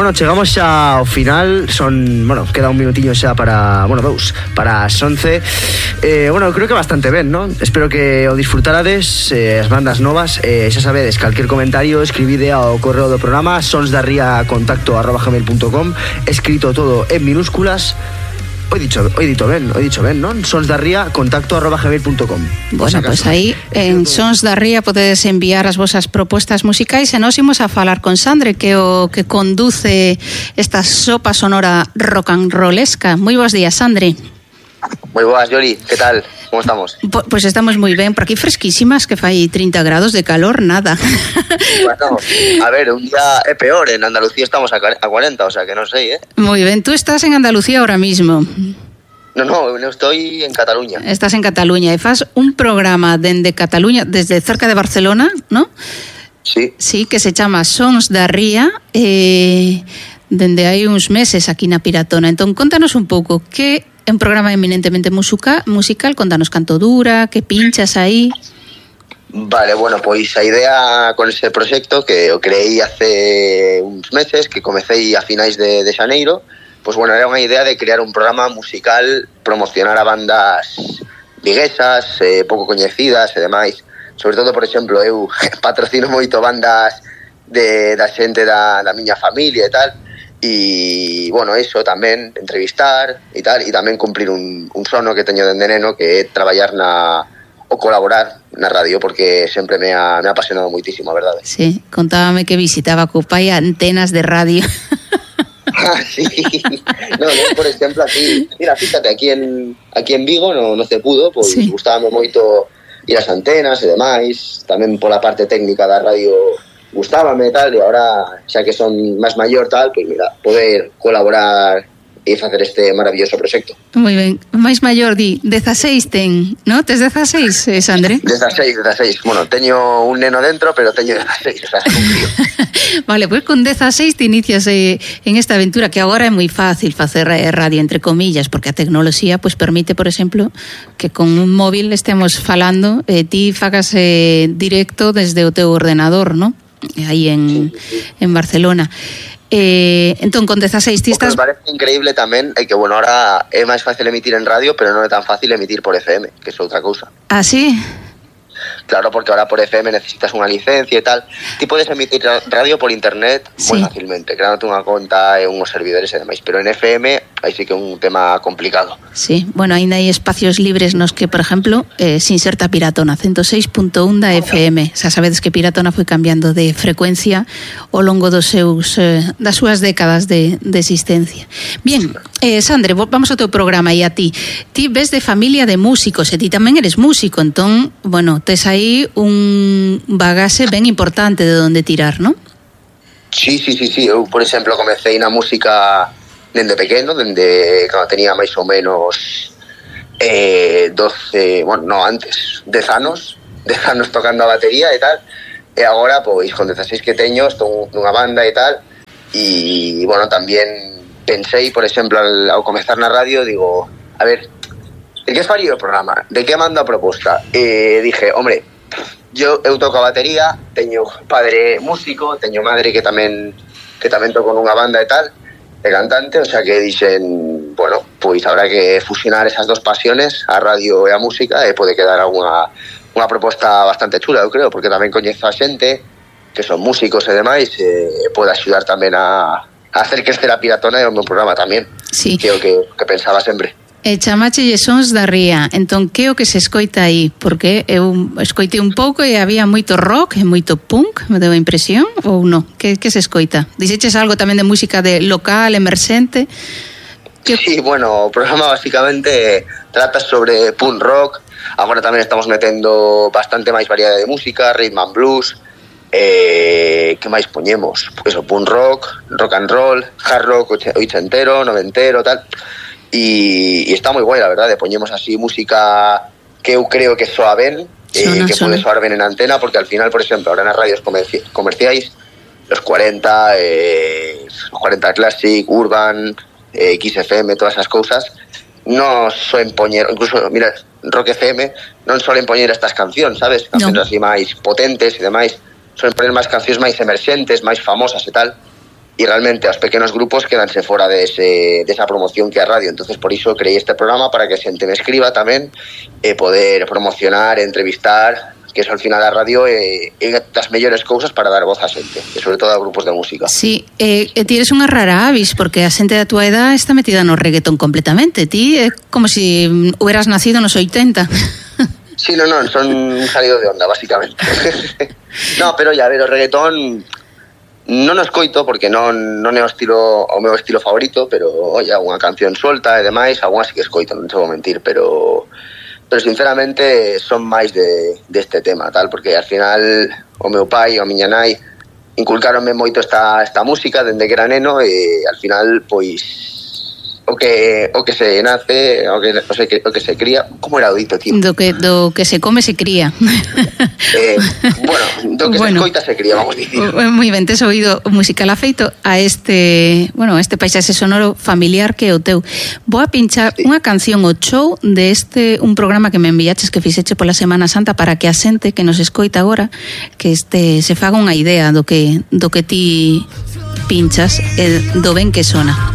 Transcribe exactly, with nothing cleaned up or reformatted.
bueno, chegamos xa ao final. Son, bueno, queda un minutiño xa para, bueno, dous, para as once. eh, Bueno, creo que bastante ben, non? Espero que o disfrutarades, eh, as bandas novas. eh, Xa sabedes, calquer comentario escribide ao correo do programa sonsdarría contacto arroba gmail punto com, escrito todo en minúsculas. Hoy dicho, hoy dito ben, hoy dicho ben, non? sonsdarría contacto arroba gmail punto com. Bueno, pois pues aí en Sons da Ría podedes enviar as vosas propostas musicais e nos imos a falar con Sandre, que o que conduce esta sopa sonora rock and rollesca. Moi bons días, Sandre. Moi boas, Yoli, que tal? Como estamos? Pois pues estamos moi ben, por aquí fresquísimas, que fai trinta grados de calor, nada. Bueno, a ver, un día é peor, en Andalucía estamos a cuarenta, o sea que non sei, eh? Moi ben, tú estás en Andalucía ahora mismo. No, no, no estoy en Cataluña. Estás en Cataluña e fas un programa dende Cataluña, desde cerca de Barcelona, ¿no? Sí. Sí, que se chama Sons da Ría, eh, dende hai uns meses aquí na Piratona. Entón, contanos un pouco, que é un programa eminentemente musica, musical, contanos canto dura, que pinchas aí. Vale, bueno, pois a idea con ese proxecto que o creei hace uns meses, que comecei a finais de, de xaneiro, pois bueno, era unha idea de crear un programa musical, promocionar a bandas viguesas, eh, pouco coñecidas e demais. Sobre todo, por exemplo, eu patrocino moito bandas de, da xente da, da miña familia e tal. E, bueno, eso tamén, entrevistar e tal, e tamén cumplir un, un sono que teño dende neno, que é traballar na, ou colaborar na radio, porque sempre me ha, me ha apasionado moitísimo, a verdade. Sí, contábame que visitaba co pai antenas de radio. Ah, sí. No, no, por exemplo, aquí, mira, fíjate, aquí en, aquí en Vigo no, no se pudo, pois sí. Gustábame moito ir ás antenas e demais, tamén pola parte técnica da radio gustábame e tal, e agora, xa que son máis maior tal, pois mira, poder colaborar e facer este maravilloso proxecto. Moi ben, máis maior di, dezaseis ten, no? Tes dezaseis, eh, Sandre? dezaseis, dezaseis, bueno, teño un neno dentro, pero teño dezaseis, o sea, es un crío. Vale, pois pues con dezaseis te inicias eh, en esta aventura, que agora é moi fácil facer radio, entre comillas, porque a tecnoloxía pues, permite, por exemplo, que con un móvil estemos falando, eh, ti fagas eh, directo desde o teu ordenador, no? Aí en, en Barcelona. Eh, entón, con dezaseis ti estás... O que me parece increíble tamén é que, bueno, ahora é máis fácil emitir en radio, pero non é tan fácil emitir por F M, que é outra cousa. Ah, sí? Claro, porque ahora por F M necesitas unha licencia e tal. Ti podes emitir radio por internet sí. moi fácilmente, creándote unha conta e unhos servidores e demais, pero en F M aí sí que é un tema complicado. Sí, bueno, ainda hai espacios libres nos que, por exemplo, eh, se inserta Piratona, ciento seis punto un da F M. Xa sabedes que Piratona foi cambiando de frecuencia ao longo dos seus, eh, das súas décadas de, de existencia. Bien, eh, Sandre, vamos ao teu programa e a ti. Ti ves de familia de músicos e ti tamén eres músico, entón, bueno, tes aí un bagaxe ben importante de onde tirar, non? Sí, sí, sí, sí. Eu, por exemplo, comecei na música dende pequeno, dende cando tenía máis ou menos eh, doce, bueno, no, antes, dez anos, dez anos tocando a batería e tal, e agora, pois, con dezaseis que teño, estou nunha banda e tal, e, bueno, tamén pensei, por exemplo, al, ao comezar na radio, digo, a ver, de que faría o programa? De que mando a proposta? E dije, hombre, yo eu toco a batería, teño padre músico, teño madre que tamén que tamén toco nunha banda e tal, de cantante, o sea que dixen, bueno, pois habrá que fusionar esas dos pasiones, a radio e a música, e pode quedar unha, unha proposta bastante chula, eu creo, porque tamén coñezo a xente que son músicos e demais, e pode axudar tamén a, a hacer crecer a Piratona e o meu programa tamén, sí. Que é o que, que pensaba sempre. E chamache Sons da Ría, entón que o que se escoita aí? Porque eu escoitei un pouco e había moito rock e moito punk, me deu a impresión, ou non? Que, que se escoita? Dixeches algo tamén de música de local, emerxente? Que... Sí, bueno, o programa basicamente trata sobre punk rock, agora tamén estamos metendo bastante máis variedade de música, rhythm and blues, eh, que máis poñemos? Pues o punk rock, rock and roll, hard rock oitentero, noventero, tal... E, e está moi guai, la verdade, poñemos así música que eu creo que soa ben, eh, que pode soar ben en antena, porque al final, por exemplo, ahora nas radios comerci- comerciais, los cuarenta, eh, los cuarenta Classic, Urban, eh, X F M, todas esas cousas, non soen poñer, incluso, mira, Rock F M, non solen poñer estas cancións, sabes? Cancións no. así máis potentes e demais, solen poñer máis cancións máis emerxentes, máis famosas e tal. e realmente os pequenos grupos quedanse fora dese, desa promoción que a radio. Entonces por iso creei este programa para que a xente me escriba tamén e poder promocionar, entrevistar, que eso al final a radio é, é das mellores cousas para dar voz a xente, e sobre todo a grupos de música. Sí, e eh, ti eres unha rara avis, porque a xente da tua edad está metida no reggaetón completamente. Ti é como se si hubieras nacido nos oitenta. Sí, non, non, son salido de onda, basicamente. No, pero ya, a ver, o reggaetón non o escoito porque non, non é o estilo o meu estilo favorito, pero, oye, unha canción suelta e demais, algunha sí que escoito, non te vou mentir, pero pero sinceramente son máis de deste tema, tal, porque al final o meu pai e a miña nai inculcaronme moito esta, esta música dende que era neno e al final, pois, o que o que se nace, o que, o se, o que se cría, como era o dito, tío? Do que, do que se come se cría. Eh, bueno, do que bueno, se escoita se cría, vamos a dicir. Moi ben, tes oído musical afeito a este, bueno, a este paisaxe sonoro familiar que é o teu. Vou a pinchar sí. unha canción o show de este, un programa que me enviaches que fixeche pola Semana Santa para que a xente que nos escoita agora que este se faga unha idea do que do que ti pinchas e do ben que sona.